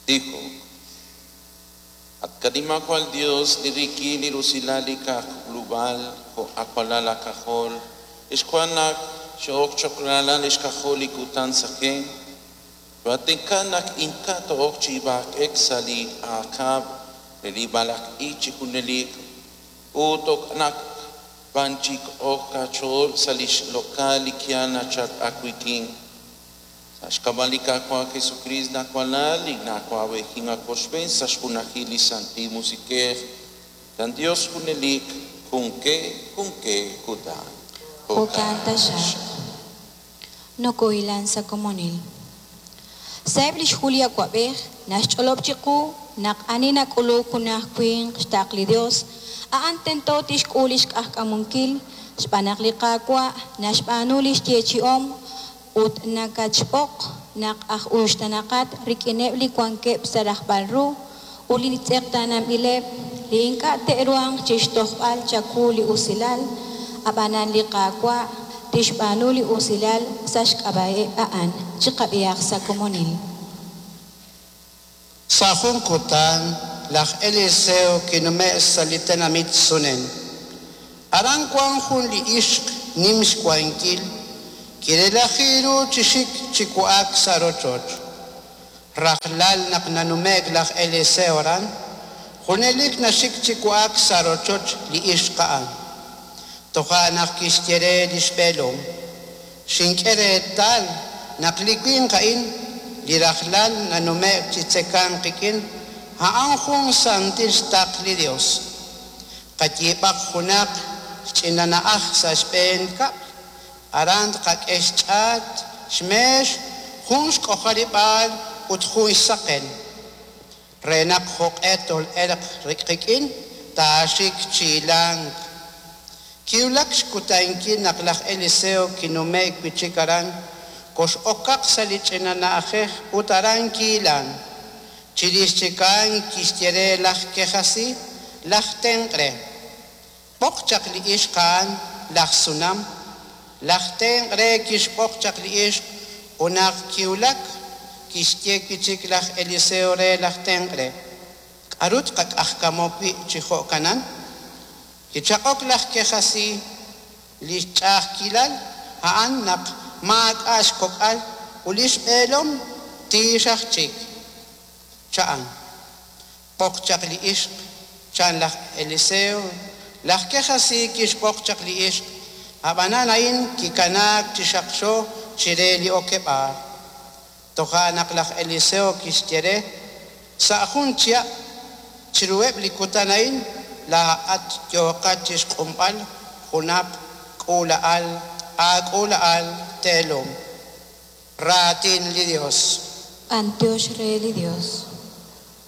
Tijok. At qanimajwal Yos, li rik'in li rusilal li qak'ulub'al jo' awalal aak'ajol, xwank naq xoo'ok cho'q ralal xk'ajol li kutan saqen. Choohaatenq'a naq ink'a' too'ok chi b'ak'ek sa' li aak'ab' re li b'alaq'ik chi junelik, ut naq b'an chik ok qach'ool sa' li xloq'al li yaal nachalk aawik'in. Sa' xk'ab'a' li Qaawa' Jesukriist laawalal, li na'awab'ejink aawochb'een sa' xjunajil li Santil Musiq'ej, chan Yos junelik, junk'e junk'e kutan. Jo'kan taxaq. Nokohilan sa' komonil. Sa'eb' li xhu li awab'ej naxch'olob' chiqu naq ani nak'uluk junaq winq xtaql li Yos, a'an tento tixk'ul li xq'ajkamunkil xb'aan naq li Qaawa' naxb'aanu li xyeechi'om ut nakatxb'oq naq aj uxtaanaqat rik'ineb' li wankeb' sa' rajb'al ru ut li tz'eqtaananb'ileb' li ink'a' te'ruhanq chi xtojb'al chawu li usilal, ab'anan li Qaawa' tixb'aanu li usilal sa' xk'ab'a'eb' a'an. Chiqab'ihaq sa' komonil. Sa' jun kutan laj Eliseo kinume'k sa' li tenamit Sunem. Aran wank jun li ixq nim xwankil, kirelaji ru chi xik chi wa'ak sa' rochoch. Rajlal naq nanume'k laj Eliseo aran, junelik naxik chi wa'ak sa' rochoch li ixq a'an. Toja' naq kixye re li xb'eelom: Xink'e reetal naq li winq a'in li rajlal nanume'k chi tzekank qik'in, a'an jun santil xtaql li Yos. Qayiib'aq junaq xch'ina na'aj sa' xb'een kab'l, aran tqak'e xch'aat, xmeex, jun xk'ojarib'aal ut jun xsaqen, re naq jo'q'e tol'elq qik'in taaxik chi hilank. Kiwulak xkutankil naq laj Eliseo kinume'k wi' chik aran, kox'okaq sa' li ch'ina na'ajej ut aran kihilank. Chirix chik a'an kixye re laj Kejasí, laj tenq' re: B'oq chaq li ixq a'an, laj Sunam. Laj tenq' re kixb'oq chaq li ixq ut naq kiwulak, kixye wi' chik laj Eliseo re laj tenq' re: K'aru tqaq'ajkamu wi' chi jo'kanan? Kichaq'ok laj Kejasí, Li xch'a'ajkilal a'an naq maak'a' xkok'al ut li xb'eelom tiix aj chik, cha'an. B'oq chaq li ixq, chan laj Eliseo. Laj Kejasí kixb'oq chaq li ixq, ab'anan a'in kikanaak chi xaqxo chire li okeb'aal. Toja' naq laj Eliseo kixye re, Sa' jun chihab' chiruheb' li kutan a'in laa'at yooqat chi xq'unb'al junaq k'uula'al aak'uula'al teelom. Raatin li Yos. B'anyox re li Yos.